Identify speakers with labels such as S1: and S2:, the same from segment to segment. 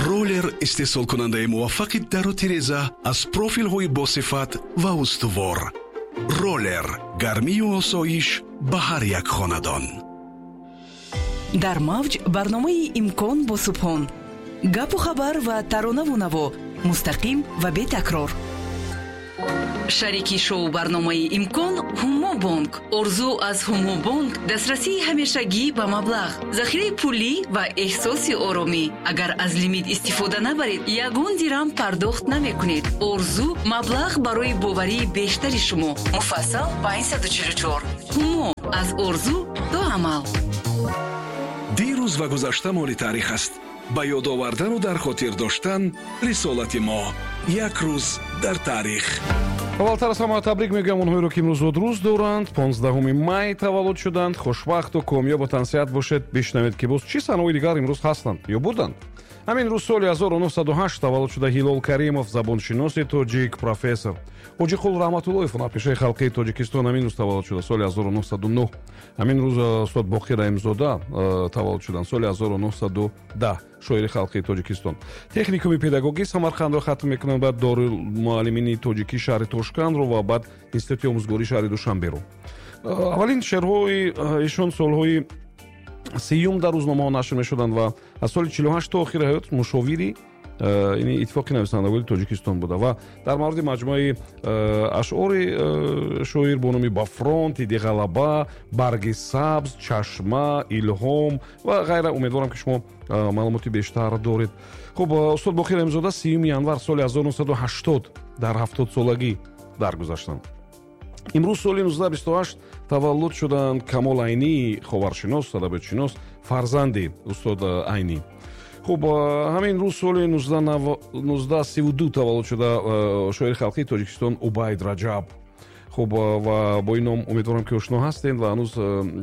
S1: Роллер, истеҳсолкунандаи муваффақи дару тиреза аз профилҳои босифат ва устувор. Роллер, гармию осоиш ба ҳар як хонадон.
S2: Дар мавҷ барномаи «Имкон» бо Субҳон. Гапу хабар ва таронаву наво мустақим ва бетакрор. Шарики шоу барномаи «Имкон» «Ҳумо бонк». Орзу аз «Ҳумо бонк» дастрасии ҳамешагӣ ба маблағ, захираи пулӣ ва эҳсоси оромӣ. Агар аз лимит истифода набаред, ягон дирам пардохт намекунед. Орзу маблағ барои боварии бештари шумо. Муфассал 544. «Ҳумо» аз орзу то амал.
S1: Дирӯз ва гузашта моли таърих аст. Ба ёд овардану дар хотир доштан рисолати мо. Як рӯз дар таърих.
S3: Аввалтар аз ҳама табрик мегӯям онҳоеро, ки имрӯз зодрӯз доранд, 15 май таваллуд шуданд. Хушбахту комёбу тансиҳат бошед. Бишнавед, ки боз чӣ санаҳои дигар имрӯз ҳастанд ё буданд. Ҳамин рӯз соли 1908 таваллуд шуда Ҳилол Каримов, забоншиноси тоҷик, профессор. Ҳоҷиқул Раҳматуллоев, ҳунарпешаи халқии Тоҷикистон, ҳамин рӯз таваллуд шуда соли 1909. Ҳамин рӯз устод Боқир Раҳимзода таваллуд шуданд соли 1910, шоири халқии Тоҷикистон. Техникуми педагогии Самарқандро хатм мекунанд, баъд Дорулмуаллимини тоҷикии шаҳри Тошкандро ва баъд Институти омӯзгории шаҳри Душанберо. Аввалин шеърҳои эшон солҳои 30-юм дар рӯзномаҳо нашр мешуданд ва аз соли 48 то охири ҳаёт мушовири ини Иттифоқи нависандагони Тоҷикистон буда. Ва дар мавриди маҷмӯаи ашъори шоир бо номи «Ба фронт», «Иди ғалаба», «Барги сабз», «Чашма», «Илҳом» ва ғайра умедворам, ки шумо маълумоти бештар доред. Хуб, устод Боқир Раҳимзода 30 январ соли 1980 дар 70-солагӣ даргузаштанд. Имрӯз соли 1928 таваллуд шуданд Камол Айнӣ, ховаршинос, адабиётшинос, фарзанди устод Айнӣ. Хуб, ҳамин рӯз соли 1932 таваллуд шуда шоири халқии Тоҷикистон Убайд Раҷаб. Хуб, ва бо ин ном умедворам, ки ошно ҳастед ва ҳанӯз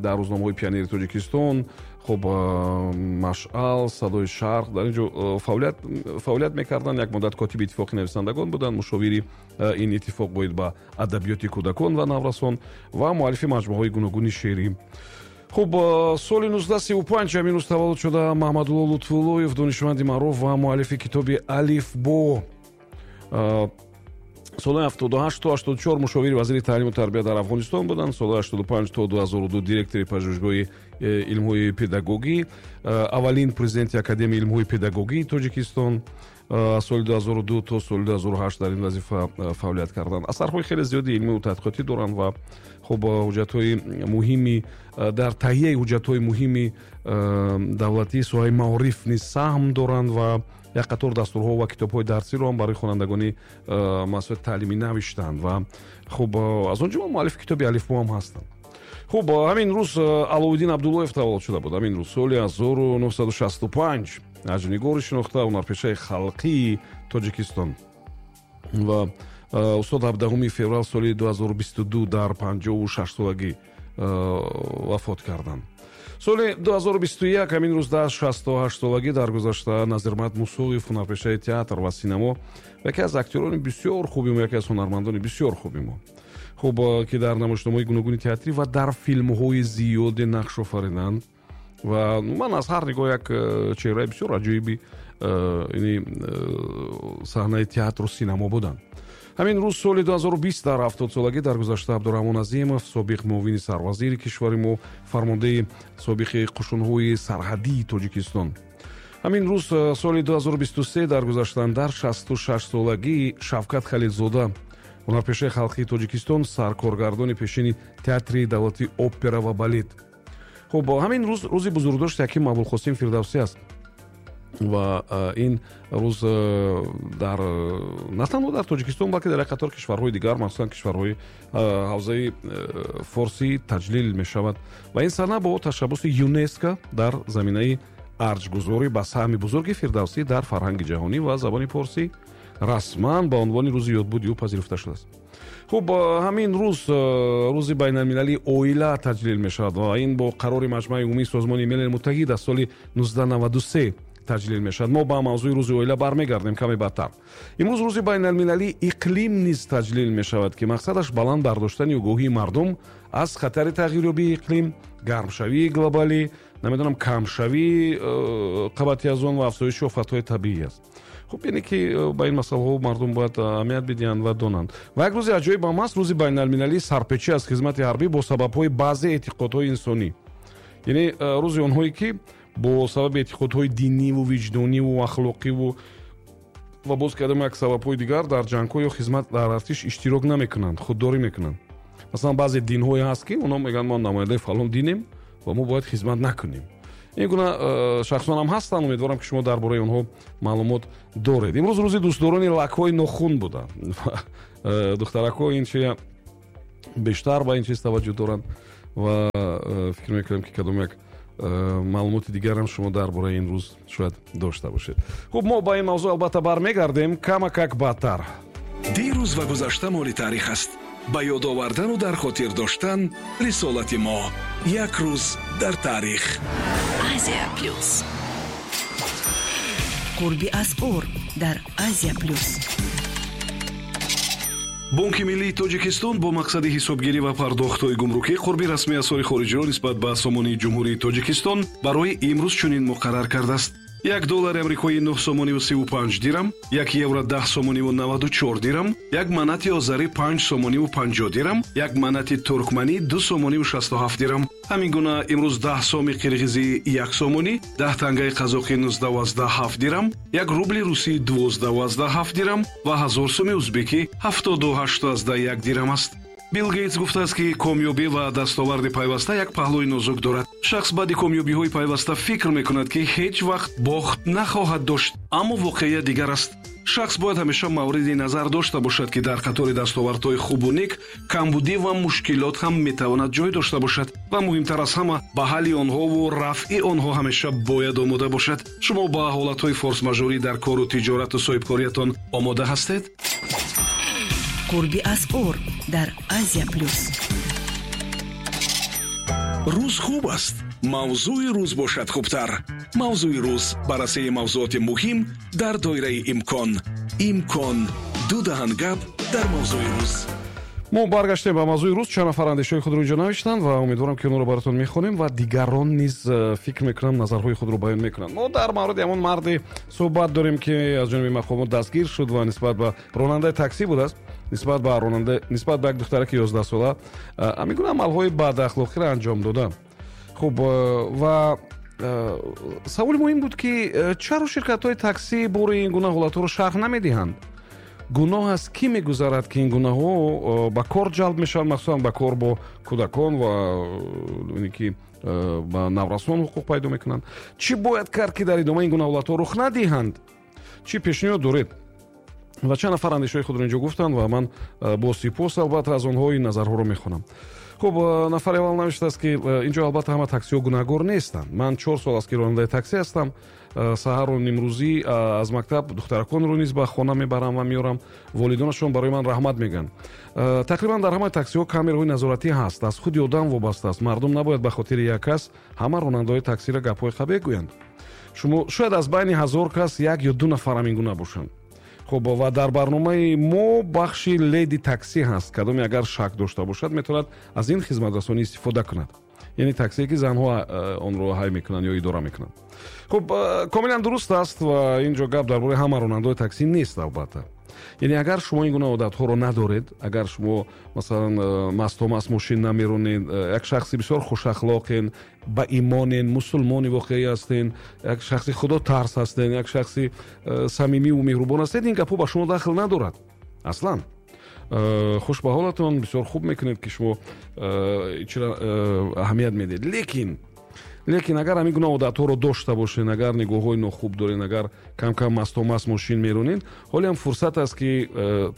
S3: дар рӯзномаҳои «Пионери Тоҷикистон», хуб, «Машъал», «Садои Шарқ» дар ин ҷо фаъолият мекарданд. Як муддат котиби Иттифоқи нависандагон буданд, мушовири ин иттифоқ оид ба адабиёти кӯдакон ва наврасон ва муаллифи маҷмӯаҳои гуногуни шеърӣ. Хуб, соли 1935 ҳамин рӯз таваллуд шуда Маҳмадулло Лутфуллоев, донишманди маъруф ва муаллифи китоби «Алифбо». Солҳои 78 то 84 мушовири вазири таълиму тарбия дар Афғонистон буданд. Солҳои 85 то 2002 директори Пажӯҳишгоҳи илмҳои педагогӣ, аввалин президенти Академияи илмҳои педагогии Тоҷикистон. Аз соли 2002 то соли 2008 дар ин вазифа фаъолият карданд. Асарҳои хеле зиёди илмию тадқиқотӣ доранд ва, хуб, ҳуҷҷатҳои муҳими дар таҳияи ҳуҷҷатҳои муҳими давлатии соҳаи маориф низ саҳм доранд ва як қатор дастурҳо ва китобҳои дарсиро ҳам барои хонандагони муассисаи таълимӣ навиштанд ва, хуб, аз он ҷумла муаллифи китоби «Алифбо» ҳам ҳастанд. Хуб, ҳамин рӯз Аловиддин Абдуллоев таваллуд шуда буд. Ҳамин рӯз соли 1965, ҳаҷвнигори шинохта, ҳунарпешаи халқии Тоҷикистон. Ва устод 17 феврал соли 2022 дар 56-солагӣ вафот карданд. Соли 2021 ҳамин рӯз дар 68-солагӣ даргузашта Назирмат Мусоев, ҳунарпешаи театр ва синамо, яке аз актёрони бисёр хуби мо, яке аз ҳунармандони бисёр хуби мо, хуб, ки дар намоишномаҳои гуногуни театрӣ ва дар филмҳои зиёде нақш офариданд ва ман аз ҳар нигоҳ як чеҳраи бисёр аҷоиби ини саҳнаи театру синамо буданд. Ҳамин рӯз соли 2020 дар 70-солагӣ даргузашта Абдураҳмон Азимов, собиқ муовини сарвазири кишвари мо, фармондеҳи собиқи қушунҳои сарҳадии Тоҷикистон. Ҳамин рӯз соли 2023 даргузаштанд дар 66-солагӣ Шавкат Халилзода, ҳунарпешаи халқии Тоҷикистон, саркоргардони пешини Театри давлатии опера ва балет. Хуб, ҳамин рӯз рӯзи бузургдошти ҳаким Абулқосим Фирдавсӣ аст ва ин рӯз дар на танҳо дар Тоҷикистон, балки дар як қатор кишварҳои дигар, махсусан кишварҳои ҳавзаи форсӣ, таҷлил мешавад. Ва ин сана бо ташаббуси ЮНЕСКО дар заминаи арҷгузорӣ ба саҳми бузурги Фирдавсӣ дар фарҳанги ҷаҳонӣ ва забони форсӣ расман ба унвони рӯзи ёдбуди ӯ пазируфта шудааст. Хуб, ҳамин рӯз рӯзи байналмилалии оила таҷлил мешавад ва ин бо қарори Маҷмаи умумии Созмони Милали Муттаҳид аз соли 1993 таҷлил мешавад. Мо ба мавзӯи рӯзи оила бармегардем каме баъдтар. Имрӯз рӯзи байналмилалии иқлим низ таҷлил мешавад, ки мақсадаш баланд бардоштани огоҳии мардум аз хатари тағйирёбии иқлим, гармшавии глобалӣ Намедонам, камшавии қабати озон ва афзоиши офатҳои табиӣ аст. Хуб, яъне ки ба ин масъалаҳо мардум бояд аҳамият бидиҳанд ва донанд. Ва як рӯзи аҷоиб ҳам аст, рӯзи байналмилалии сарпечӣ аз хизмати ҳарбӣ бо сабабҳои баъзе эътиқодҳои инсонӣ, яъне рӯзи онҳое, ки бо сабаби эътиқодҳои диниву виҷдониву ахлоқиву ва боз кардам як сабабҳои дигар дар ҷангҳо ё хизмат дар артиш иштирок намекунанд, худдорӣ мекунанд. Масалан, баъзе динҳое ҳаст, ки онҳо мегӯянд, мо намояндаи фалон динем ва мо бояд хизмат накунем. Ин гуна шахсон ҳам ҳастанд. Умедворам, ки шумо дар бораи онҳо маълумот доред. Имрӯз рӯзи дӯстдорони лакҳои нохун буда. Духтаракҳо ин чи бештар ба ин чиз таваҷҷӯҳ доранд ва фикр мекунам, ки кадом як маълумоти дигарам шумо дар бораи ин рӯз шояд дошта бошед. Хуб, мо ба ин мавзӯъ албатта бармегардем камакак баъдтар.
S1: Дирӯз ва гузашта моли таърих аст. Ба ёд овардану дар хотир доштан рисолати мо. Як рӯз дар таърих.
S2: Азия Плюс. Қурби асъор дар Азия Плюс.
S1: Бонки миллии Тоҷикистон бо мақсади ҳисобгирӣ ва пардохтҳои гумрукӣ қурби расмии асъори хориҷиро нисбат ба сомонии Ҷумҳурии Тоҷикистон барои имрӯз чунин муқаррар кардааст: 1 доллари амрикоӣ 9 сомониву 35 дирам, 1 евро 10 сомониву 94 дирам, 1 манати озарӣ 5 сомониву 50 дирам, 1 манати туркманӣ 2 сомониву 67 дирам. Ҳамин гуна имрӯз 10 соми қирғизӣ 1 сомонӣ, 10 тангаи қазоқӣ 19,7 дирам, 1 рубли русӣ 12,7 дирам ва 1000 суми узбекӣ 78,1 дирам аст. Билл Гейтс гуфтааст, ки комёбӣ ва дастоварди пайваста як паҳлӯи нозук дорад. Шахс баъди комёбиҳои пайваста фикр мекунад, ки ҳеҷ вақт бохт нахоҳад дошт, аммо воқеият дигар аст. Шахс бояд ҳамеша мавриди назар дошта бошад, ки дар қатори дастовардҳои хубу нек камбудӣ ва мушкилот ҳам метавонад ҷой дошта бошад ва муҳимтар аз ҳама, ба ҳалли онҳову рафъи онҳо ҳамеша бояд омода бошад. Шумо ба ҳолатҳои форс-мажорӣ дар кору тиҷорату соҳибкориятон омода ҳастед?
S2: Қурби асъор дар Азия Плюс.
S1: Рӯз хуб аст, мавзӯи рӯз бошад хубтар. Мавзӯи рӯз: баррасии мавзӯоти муҳим дар доираи имкон. Имкон: ду даҳан гап дар мавзӯи рӯз.
S3: Мо баргаштем ба мавзӯи рӯз. Чанд нафар андешаҳои худро инҷо навиштанд ва умедворам, ки онҳоро баротон мехонем ва дигарон низ фикр мекунам, назарҳои худро баён мекунанд. Мо дар мавриди ҳамон марде суҳбат дорем, ки аз ҷониби мақомот дастгир шуд ва нисбат ба ронандаи таксӣ будааст, нисбат ба ронанда, нисбат ба як духтараки 11сола ҳамин гуна амалҳои бадахлоқиро анҷом дода. Хуб, ва саволи муҳим буд, ки чаро ширкатҳои таксӣ бори ин гуна ҳолатҳоро шарҳ намедиҳанд? Гуноҳ аз кӣ мегузарад, ки ин гунаҳо ба кор ҷалб мешаванд, махсусан ба кор бо кӯдакон ва ки ба наврасон ҳуқуқ пайдо мекунанд? Чӣ бояд кард, ки дар идома ин гуна ҳолатҳо рух надиҳанд? Чӣ пешниҳод доред? Ва чанд нафар андешаҳои худро инҷо гуфтанд ва ман бо сипос, албатта, аз онҳо ин назарҳоро мехонам. Хуб, нафари аввал навиштааст, ки инҷо албатта ҳама таксиҳо гунаҳгор нестанд. Ман 4 сол аст, ки ронандаи таксӣ ҳастам. Саҳару нимрӯзӣ аз мактаб духтараконро низ ба хона мебарам ва меорам. Волидонашон барои ман раҳмат мегӯянд. Тақрибан дар ҳамаи таксиҳо камераҳои назоратӣ ҳаст. Аз худи одам вобаста аст. Мардум набояд ба хотири як кас ҳама ронандаҳои таксиро гапҳои қабеҳ гӯянд. Шумо шояд аз байни 1000 кас як ё ду нафар ҳамин гуна бошанд. Хуб, ва дар барномаи мо бахши леди таксӣ ҳаст. Кадоме агар шак дошта бошад, метавонад аз ин хизматрасонӣ истифода кунад, яъне таксие, ки занҳо онро ҳай мекунанд ё идора мекунанд. Хуб, комилан дуруст аст ва ин ҷо гап дар бораи ҳама ронандаҳои таксӣ нест, албатта. Яъне агар шумо ин гуна одатҳоро надоред, агар шумо, масалан, мастомаст мошин намеронед, як шахси бисёр хушахлоқен, ба имонен, мусулмони воқеӣ ҳастен, як шахси худотарс ҳастен, як шахси самимиву меҳрубон ҳастед, ин гапҳо ба шумо дахл надорад аслан. Хуш ба ҳолатон, бисёр хуб мекунед, ки шумо чира аҳамият медиҳед. Лекин агар ҳамин гуна одатҳоро дошта бошед, агар нигоҳҳои нохуб доред, агар кам-кам мастомаст мошин меронед, ҳоле ҳам фурсат аст, ки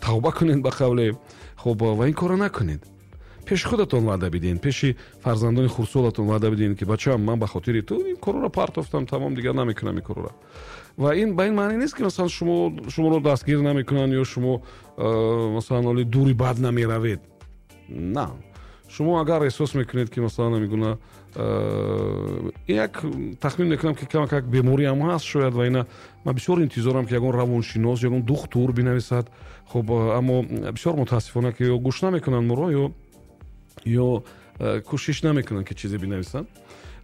S3: тавба кунед, ба қавле, хуб, ва ин корро накунед. Пеши худатон ваъда бидиҳед, пеши фарзандони хурдсолатон ваъда бидиҳед, ки бачаам, ман ба хотири ту ин корро партофтам, тамом, дигар намекунам ин корро. Ва ин ба ин маъне нест, ки масалан шуморо дастгир намекунанд ё шумо масалан ҳоли дури бад намеравед. На, шумо агар эҳсос мекунед, ки масалан ҳамин гуна як, тахмин мекунам, ки камакак бемориам ҳаст шояд, ва ина ман бисёр интизорам, ки ягон равоншинос, ягон духтур бинависад. Хуб, аммо бисёр мутаассифона, ки ё гӯш намекунанд моро, ё кӯшиш намекунанд, ки чизе бинависанд.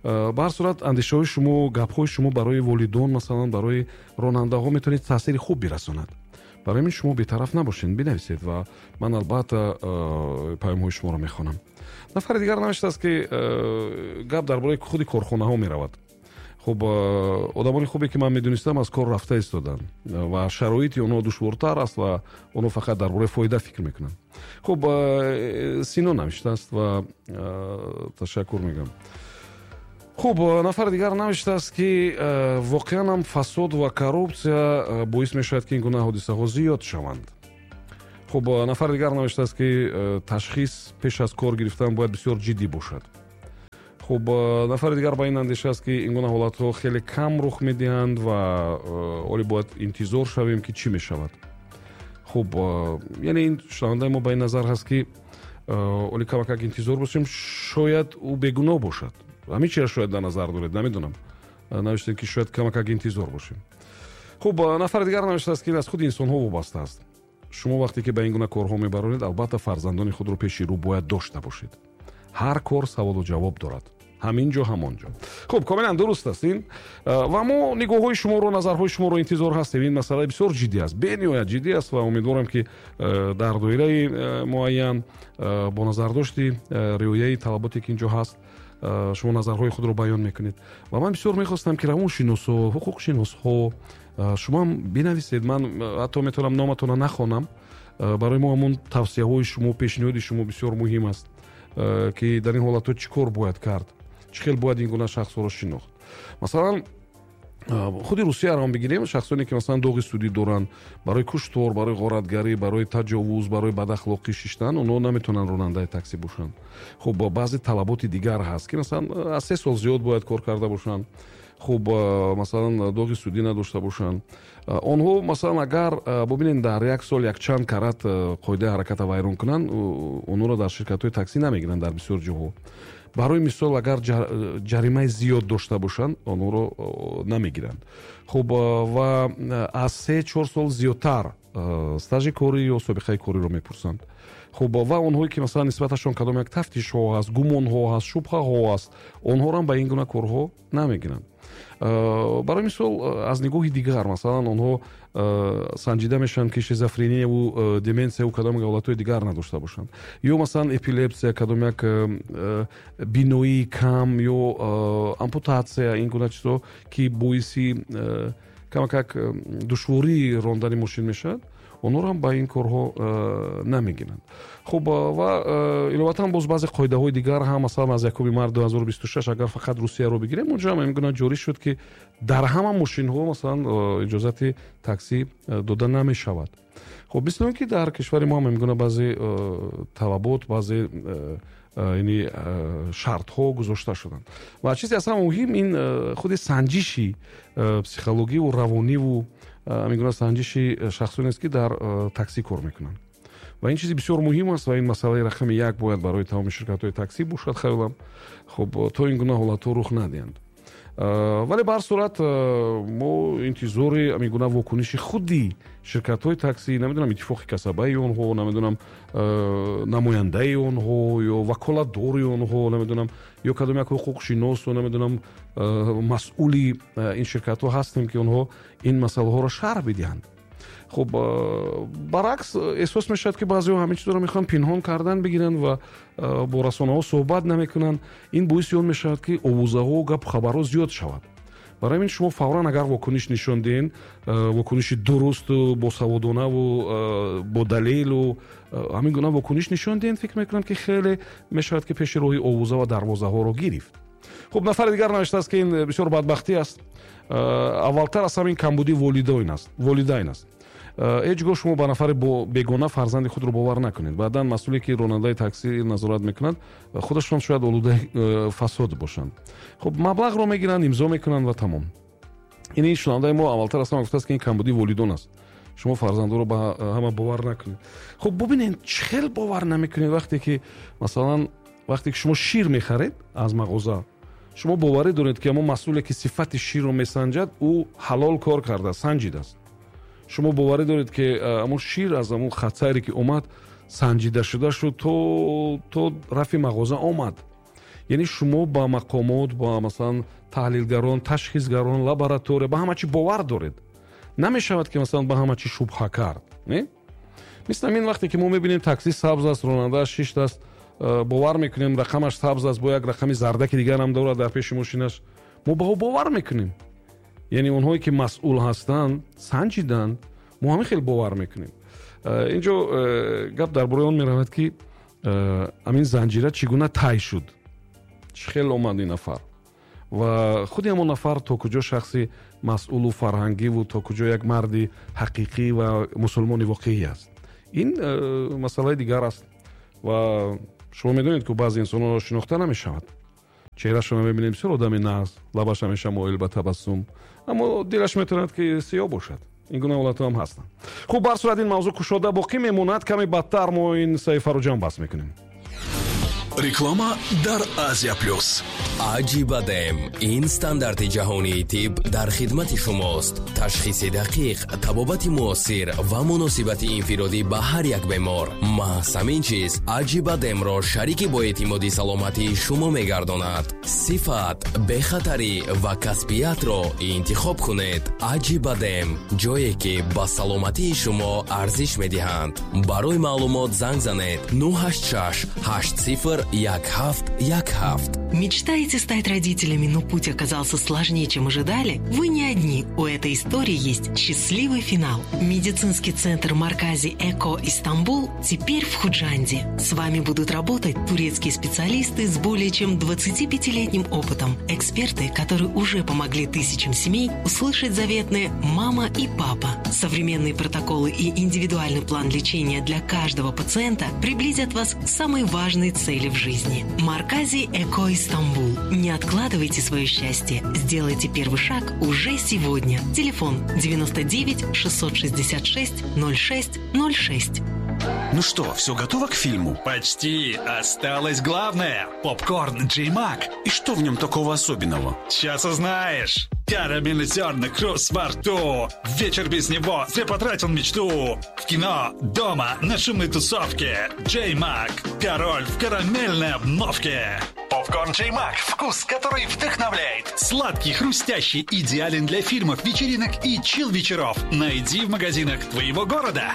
S3: Ба ҳар сурат, андешаҳои шумо, гапҳои шумо барои волидон, масалан, барои ронандаҳо метавонед таъсири хуб бирасонад. Барои ҳамин шумо бетараф набошед, бинависед ва ман албатта паёмҳои шуморо мехонам. Нафари дигар навиштааст, ки гап дар бораи худи корхонаҳо меравад. Хуб, одамони хубе, ки ман медонистам, аз кор рафта истоданд ва шароити онҳо душвортар аст ва онҳо фақат дар бораи фоида фикр мекунанд. Хуб, Сино навиштааст ва ташаккур мегӯям. Хуб, нафари дигар навиштааст, ки воқеан ҳам фасод ва коррупсия боис мешавад, ки ин гуна ҳодисаҳо зиёд шаванд. Хуб, нафари дигар навиштааст, ки ташхис пеш аз кор гирифтан бояд бисёр ҷиддӣ бошад. Хуб, нафари дигар ба ин андеша аст, ки ин гуна ҳолатҳо хеле кам рух медиҳанд ва оле бояд интизор шавем, ки чӣ мешавад. Хуб, яъне ин шунавандаи мо ба ин назар ҳаст, ки оле камакак интизор бошем, шояд ӯ бегуноҳ бошад. Ҳамин чиро шояд дар назар доред, намедонам. Навиштем, ки шояд камакак интизор бошем. Хуб, нафари дигар навиштааст, ки ин аз худи инсонҳо вобаста аст. Шумо вақте ки ба ин гуна корҳо мебаронед, албатта фарзандони худро пеши рӯ бояд дошта бошед. Ҳар кор саволу ҷавоб дорад. Ҳамин ҷо, ҳамон ҷо. Хуб, комилан дуруст аст ин. Ва мо нигоҳҳои шуморо, назарҳои шуморо интизор ҳастем. Ин масъала бисёр ҷиддӣ аст, бениҳоят ҷиддӣ аст ва умедворам, ки дар доираи муайян, бо назардошти риояи талаботе, ки ин ҷо ҳаст, шумо назарҳои худро баён мекунед. Ва ман бисёр мехостам, ки равоншиносҳо, ҳуқуқшиносҳо, шумо ҳам бинависед. Ман ҳатто метавонам номатонро нахонам. Барои мо ҳамон тавсияҳои шумо, пешниҳоди шумо бисёр муҳим аст, ки дар ин ҳолатҳо чӣ кор бояд кард, чӣ хел бояд ин гуна шахсҳоро шинохт. Масалан, худи Русияро ҳам бигирем, шахсоне, ки масалан доғи судӣ доранд барои куштор, барои ғоратгарӣ, барои таҷовуз, барои бадахлоқӣ шиштан, онҳо наметавонанд ронандаи таксӣ бошанд. Хуб, баъзе талаботи дигар ҳаст, ки масалан аз 3 сол зиёд бояд кор карда бошанд. Хуб, масалан, доғи судӣ надошта бошанд. Онҳо, масалан, агар бубинед, дар як сол якчанд карат қоидаи ҳараката вайрон кунанд, онҳоро дар ширкатҳои таксӣ намегиранд дар бисёр ҷоҳо. Барои мисол, агар ҷаримаи зиёд дошта бошанд, онҳоро намегиранд. Хуб, ва аз 3-4 сол зиёдтар стажи корӣ ё собиқаи кориро мепурсанд. Хуб, ва онҳое, ки масалан нисбаташон кадом як тафтишҳо ҳаст, гумонҳо ҳаст, шубҳаҳо ҳаст, онҳоро ҳам ба ин гуна корҳо намегиранд. Барои мисол, аз нигоҳи дигар, масалан, онҳо санҷида мешаванд, ки шизофренияву деменсияву кадом ҳолатҳои дигар надошта бошанд, ё масалан эпилепсия, кадом як биноии кам ё ампутатсия, ин гуна чизҳо, ки боиси камакак душвории рондани мошин мешавад, онҳоро ҳам ба ин корҳо намегиранд. Хуб, ва иловатан боз баъзе қоидаҳои дигар ҳам, масалан, аз 1 март 2026, агар фақат Русияро бигирем, онҷо ҳам ин гуна ҷорӣ шуд, ки дар ҳама мошинҳо, масалан, иҷозати таксӣ дода намешавад. Хуб, мисли он ки дар кишвари мо ҳам ин гуна баъзе талабот, баъзе, яъне, шартҳо гузошта шуданд. Ва чизе аз ҳама муҳим ин худи санҷиши психологиву равониву ҳамин гуна санҷиши шахсоне аст, ки дар таксӣ кор мекунанд. Ва ин чизи бисёр муҳим аст ва ин масъалаи рақами як бояд барои тамоми ширкатҳои таксӣ бошад, хаёлам. Хуб, то ин гуна ҳолатҳо рух надиҳанд. Вале ба ҳар сурат, мо интизори ҳамин гуна вокуниши худи ширкатҳои таксӣ, намедонам, иттифоқи касабаи онҳо, намедонам, намояндаи онҳо ё ваколатдори онҳо, намедонам, ё кадом як ҳуқуқшиносу, намедонам, масъули ин ширкатҳо ҳастем, ки онҳо ин масъалаҳоро шарҳ бидиҳанд. Хуб, баръакс, эҳсос мешавад, ки баъзеҳо ҳамин чизро мехоҳанд пинҳон кардан бигиранд ва бо расонаҳо суҳбат намекунанд. Ин боиси он мешавад, ки овозаҳо, гапу хабарҳо зиёд шавад. Барои ҳамин шумо фавран агар вокуниш нишон диҳен, вокуниши дурусту босаводонаву бо далелу ҳамин гуна вокуниш нишон диҳен, фикр мекунам, ки хеле мешавад, ки пеши роҳи овоза ва дарвозаҳоро гирифт. Хуб, нафари дигар навиштааст, ки ин бисёр бадбахтӣ аст. Аввалтар аз ҳамин камбудии волидайн аст. Ҳеҷ гоҳ шумо ба нафари бегона фарзанди худро бовар накунед. Баъдан масъуле, ки ронандаи таксӣ назорат мекунад, худашон шояд олудаи фасод бошанд. Хуб, маблағро мегиранд, имзо мекунанд ва тамом. Ин шунавандаи мо аввалтар аз ҳама гуфтааст, ки ин камбудии волидон аст, шумо фарзандоро ба ҳама бовар накунед. Хуб, бубинед, чӣ хел бовар намекунед, вақте ки, масалан, вақте ки шумо шир мехаред аз мағоза, шумо боварӣ доред, ки ҳамон масъуле, ки сифати ширро месанҷад, ӯ ҳалол кор кардааст, санҷидааст. Шумо боварӣ доред, ки ҳамон шир аз ҳамон хатсайре, ки омад, санҷида шуда шуд, то рафи мағоза омад. Яъне шумо ба мақомот, ба масалан таҳлилгарон, ташхисгарон, лаборатория, ба ҳама чӣ бовар доред. Намешавад ки масалан ба ҳама чӣ шубҳа кард, не? Мисли ҳамин вақте ки мо мебинем такси сабз аст, ронандааш шиштааст, бовар мекунем рақамаш сабз аст, бо як рақами зардаки дигар ҳам дорад дар пеши мошинаш, мо ба ӯ бовар мекунем. Яъне онҳое ки масъул ҳастанд, санҷиданд, мо ҳамин хел бовар мекунем. Инҷо гап дар бораи он меравад ки ҳамин занҷира чӣ гуна тай шуд, чӣ хел омад ин нафар ва худи ҳамон нафар то куҷо шахси масъулу фарҳангиву то куҷо як марди ҳақиқӣ ва мусулмони воқеӣ аст. Ин масъалаи дигар аст ва шумо медонед ки баъзе инсонҳоро шинохта намешавад. Чеҳрашонро мебинем, бисёр одами нағз, лабаш ҳамеша моил ба табассум, аммо дилаш метавонад ки сиёҳ бошад. Ин гуна ҳолатҳо ҳам ҳастанд. Хуб, бар сурат ин мавзӯъ кушода боқӣ мемонад. Каме бадтар мо ин саҳифаро ҷамъбаст мекунем.
S1: Реклама дар Азия Плюс.
S4: Аҷибадем. Ин стандарти ҷаҳонии тиб дар хидмати шумост. Ташхиси дақиқ, табобати муосир ва муносибати инфиродӣ ба ҳар як бемор. Маҳз ҳамин чиз Аҷибадемро шарики боэътимоди саломатии шумо мегардонад. Сифат, бехатарӣ ва касбиятро интихоб кунед. Аҷибадем, ҷое ки ба саломатии шумо арзиш медиҳанд. Барои маълумот занг занед 986 80 1717.
S5: Мечтаете стать родителями, но путь оказался сложнее, чем ожидали? Вы не одни. У этой истории есть счастливый финал. Медицинский центр Маркази Эко Истанбул теперь в Худжанде. С вами будут работать турецкие специалисты с более чем 25-летним опытом. Эксперты, которые уже помогли тысячам семей услышать заветные «мама» и «папа». Современные протоколы и индивидуальный план лечения для каждого пациента приблизят вас к самой важной цели в жизни. Маркази Эко Истанбул. Не откладывайте свое счастье. Сделайте первый шаг уже сегодня. Телефон 99 666 06 06.
S1: Ну что, все готово к фильму?
S6: Почти. Осталось главное. Попкорн Джей Мак.
S1: И что в нем такого особенного?
S6: Сейчас узнаешь. Карамельный зерна, хруст во рту. Вечер без него, зря потратил мечту. В кино, дома, на шумной тусовке. Джей Мак. Король в карамельной обновке. Попкорн Джей Мак. Вкус, который вдохновляет. Сладкий, хрустящий, идеален для фильмов, вечеринок и чил-вечеров. Найди в магазинах твоего города.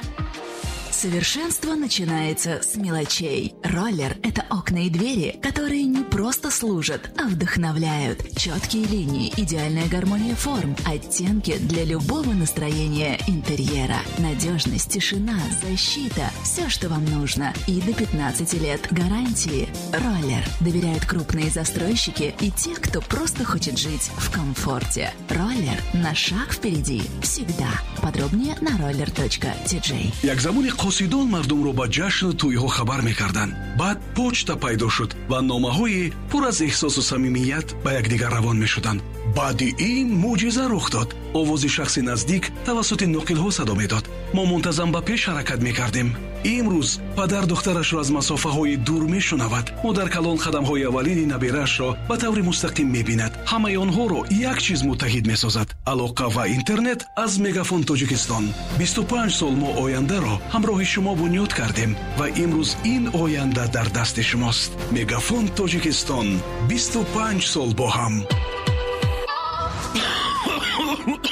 S7: Совершенство начинается с мелочей. Роллер – это окна и двери, которые не просто служат, а вдохновляют. Четкие линии, идеальная гармония форм, оттенки для любого настроения интерьера. Надежность, тишина, защита – все, что вам нужно. И до 15 лет гарантии. Роллер доверяют крупные застройщики и те, кто просто хочет жить в комфорте. Роллер на шаг впереди всегда. Подробнее на roller.tj.
S1: Як замони қосидон мардумро ба ҷашну тӯйҳо хабар мекарданд. Баъд почта пайдо шуд ва номаҳои пур аз эҳсосу самимият ба якдигар равон мешуданд. Баъди ин мӯъҷиза рух дод. Овози шахси наздик тавассути ноқилҳо садо медод. Мо мунтазам ба пеш ҳаракат мекардем. Имрӯз падар духтарашро аз масофаҳои дур мешунавад. Модар калон қадамҳои аввалини набираашро ба таври мустақим мебинад. Ҳамаи онҳоро як чиз муттаҳид месозад: алоқа ва интернет аз Мегафон Тоҷикистон. 25 сол мо ояндаро ҳамроҳи шумо бунёд кардем ва имрӯз ин оянда дар дасти шумост. Мегафон Тоҷикистон, 25 сол бо ҳам.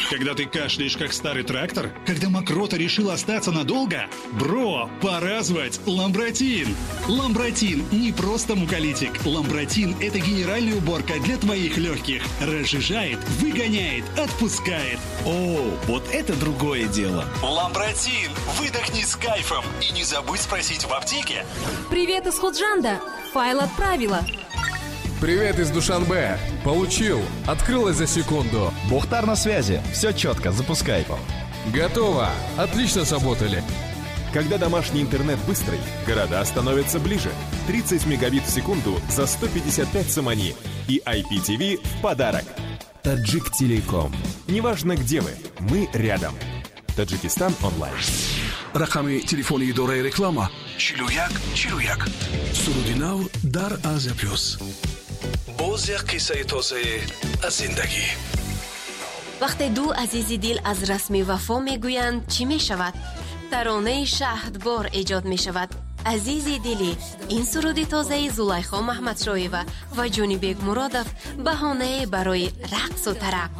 S6: Когда ты кашляешь, как старый трактор? Когда мокрота решила остаться надолго? Бро, пора звать Ламбратин! Ламбратин не просто муколитик. Ламбратин – это генеральная уборка для твоих легких. Разжижает, выгоняет, отпускает.
S8: О, вот это другое дело!
S6: Ламбратин! Выдохни с кайфом! И не забудь спросить в аптеке.
S9: Привет из Худжанда! Файл отправила.
S10: Привет из Душанбе. Получил. Открылось за секунду.
S8: Бухтар на связи. Все четко. Запускай.
S10: Готово. Отлично сработали.
S11: Когда домашний интернет быстрый, города становятся ближе. 30 мегабит в секунду за 155 сомони. И IPTV в подарок. Таджик Телеком. Неважно, где вы, мы рядом. Таджикистан онлайн.
S1: Рақами телефони идораи реклама 41 41. Суруди нав дар Азия Плюс. Боз як қиссаи тозае аз зиндагӣ.
S12: Вақте ду азизи дил аз расми вафо мегӯянд, чӣ мешавад? Таронаи шаҳдбор эҷод мешавад. Азизи дилӣ, ин суруди тозаи Зулайхо Маҳмадшоева ва Ҷонибек Муродов баҳонае барои рақсу тараб.